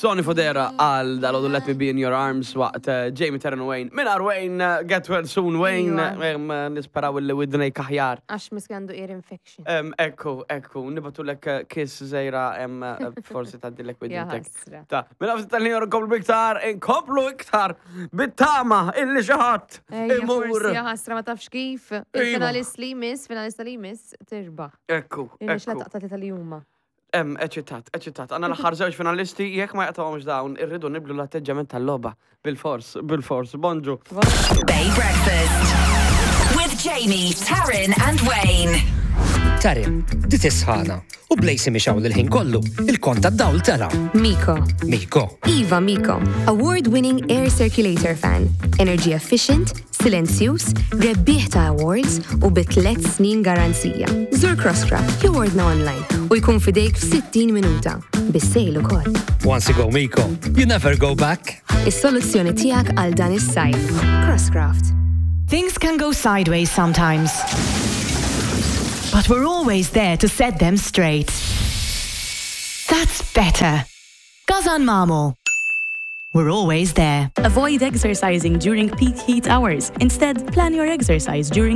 Sonny Fodera għal dal Let Me Be In Your Arms waqt eh, Jamie Taryn Wayne. Minn Wayne, eh, get well soon Wayne, eh, nisperaw li widnejk aħjar. Għax miski għandu ear infection. Ekku, ekku, nibatu lek kiss zejra, forsi taddilek widnejk. Ta' minn għafsi tal-ħin nkomplu iktar, inkomplu iktar, bit-tama illi xaħat imur. Jaħasra ma tafx kif, iva. il-finalist li jmiss, finalista li jmiss, tirbaħ. Ekku, ekku. Taqta li huma. Em, eċitat, eċitat. Għanna l-aħħar żewġ finalisti, jekk ma jaqtawhomx dawn, irridu niblu l-atteġġament tal-logħba. Bil-fors, bil-fors. Bonġu. Bay Breakfast with Jamie, Taryn and Wayne. Taryn, di tisħana u blejsi miex hawn il-ħin kollu, il-kont tad-dawl tela. Miko. Miko. Iva Miko, award-winning air circulator fan, energy efficient, Silenzjuż, rebbieħ ta' awards u bi tlett snin garanzija. Żur Crosscraft jew ordna online u jkun f'idejk f'60 minuta. Bis-sale ukoll. Once you go Miko, you never go back. Is-soluzzjoni tiegħek għal dan is-sajf. Crosscraft. Things can go sideways sometimes. But we're always there to set them straight. That's better. Gazan Mamo. We're always there. Avoid exercising during peak heat hours. Instead, plan your exercise during